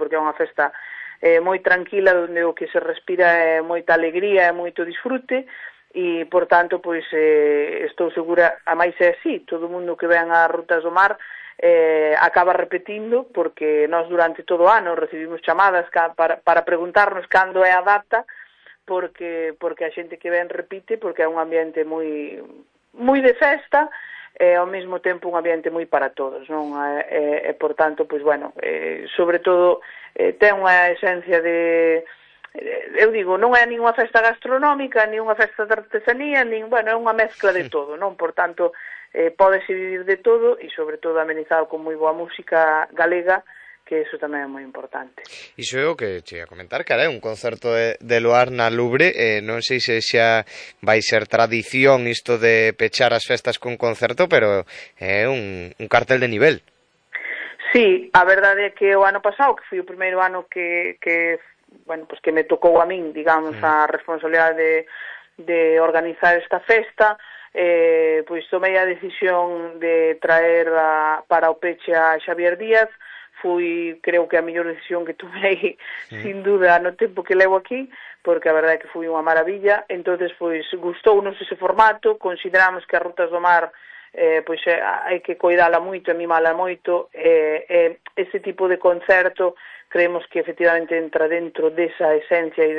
porque é unha festa moi tranquila, onde o que se respira é moita alegría e moito disfrute, e, por tanto, pois, estou segura, a máis é así, todo o mundo que ven ás Rutas do Mar acaba repetindo, porque nós durante todo o ano recibimos chamadas para preguntarnos cando é a data, porque a xente que ven repite, porque é un ambiente moi de festa, e ao mesmo tempo un ambiente moi para todos, non? E por tanto, pois, bueno, sobre todo ten unha esencia de, eu digo, non é nin unha festa gastronómica, nin unha festa de artesanía, bueno, é unha mezcla de todo, non? Por tanto, pódese vivir de todo e, sobre todo, amenizado con moi boa música galega, que iso tamén é moi importante. Iso é o que che ia comentar, que é un concerto de Loar na Lubre, non sei se xa vai ser tradición isto de pechar as festas con concerto, pero é un cartel de nivel. Sí, a verdade é que o ano pasado, que foi o primeiro ano que bueno, pues que me tocou a min, digamos, a responsabilidade de organizar esta festa, pois tomei a decisión de traer para o peche a Xavier Díaz. Foi, creo que a mellor decisión que tomei, sin duda, no tempo que levo aquí, porque a verdade é que foi unha maravilla. Entonces, pois, gustounos ese formato, consideramos que as Rutas do Mar pois hai que coidala moito e mimala moito, ese tipo de concerto creemos que efectivamente entra dentro desa esencia e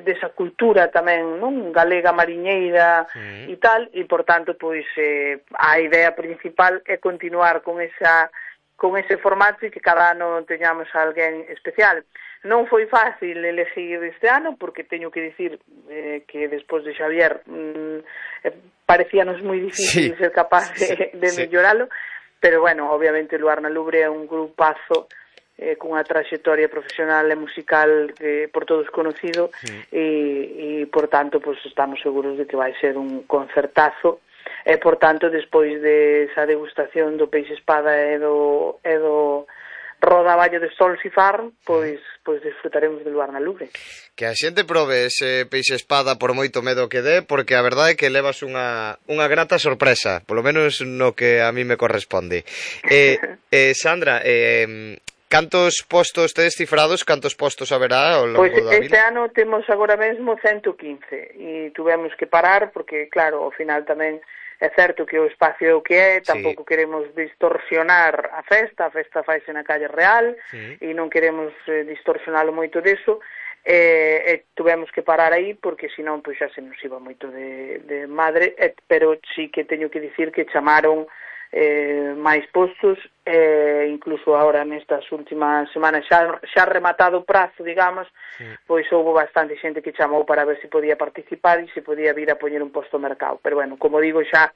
desa cultura tamén, non, galega mariñeira e tal, e por tanto, pois, a idea principal é continuar con ese formato e que cada ano teñamos a alguén especial. Non foi fácil elegir este ano, porque teño que dicir que despois de Xavier parecíanos moi difícil ser capaz de melloralo, pero, bueno, obviamente Loar na Lubre é un grupazo con unha traxectoria profesional e musical por todos conocido, e por tanto, pues, estamos seguros de que vai ser un concertazo. E, por tanto, despois de esa degustación do peixe espada e do rodaballo de Solsifar, pois disfrutaremos de Loar na Lubre. Que a xente probe ese peixe espada por moito medo que dé, porque a verdade é que levas unha grata sorpresa, polo menos no que a mí me corresponde. Sandra, cantos postos tedes cifrados, cantos postos haberá ao longo da vila? Este ano temos agora mesmo 115 e tuvemos que parar porque, claro, ao final tamén é certo que o espacio é o que é, tampouco queremos distorsionar a festa faise na calle Real e non queremos distorsionalo moito deso, e tuvemos que parar aí porque senón pois xa se nos iba moito de madre, pero sí que teño que dicir que chamaron máis postos, incluso ahora nestas últimas semanas xa rematado o prazo, digamos, pois houve bastante xente que chamou para ver se podía participar e se podía vir a poñer un posto ao mercado, pero bueno, como digo, xa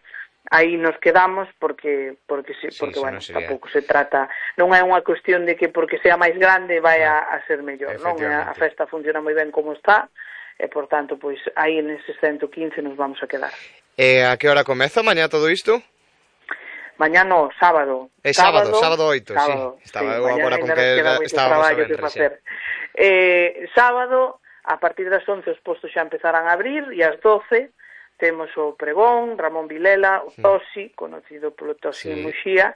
aí nos quedamos porque bueno, tampouco se trata, non é unha cuestión de que porque sea máis grande vai a ser mellor, non? A festa funciona moi ben como está, e por tanto, pois aí neses 115 nos vamos a quedar. E a que hora comeza mañá todo isto? Mañá no, sábado. Sábado 8, sábado, sí. Estaba eu agora con que estábamos a ver. Sábado, a partir das 11 os postos xa empezarán a abrir e ás 12 temos o pregón, Ramón Vilela, o Tosi, conocido polo Tosi en Muxía,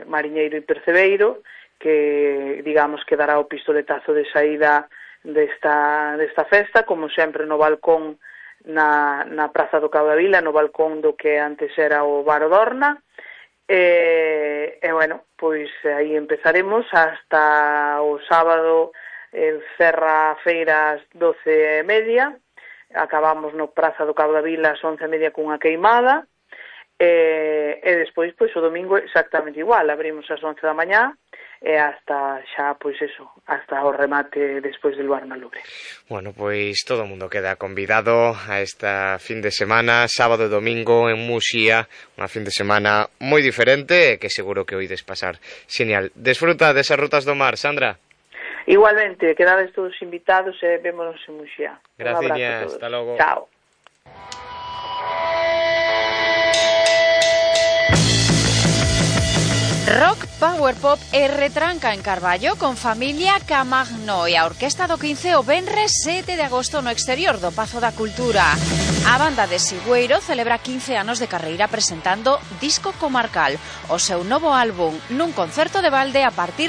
mariñeiro e percebeiro, que, digamos, que dará o pistoletazo de saída desta festa, como sempre no balcón na Praza do Cabo da Vila, no balcón do que antes era o Bar Odorna, e bueno, pois aí empezaremos hasta o sábado, cerra a feira ás 12:30, acabamos no Praza do Cabo da Vila ás 11:30 cunha queimada, e despois, pois, o domingo exactamente igual, abrimos ás 11 da mañá, e hasta xa, pois eso, hasta o remate despois de Loar na Lubre. Bueno, pois todo o mundo queda convidado a esta fin de semana, sábado e domingo en Muxía, unha fin de semana moi diferente e que seguro que oides pasar xenial. Desfruta desas Rutas do Mar, Sandra. Igualmente, quedades todos invitados e vémonos en Muxía. Gracias, hasta logo. Chao. Rock, power pop e retranca en Carballo con Familia Camagno e a Orquesta do 15 o venres 7 de agosto no exterior do Pazo da Cultura. A banda de Sigüeiro celebra 15 anos de carreira presentando Disco Comarcal, o seu novo álbum nun concerto de balde a partir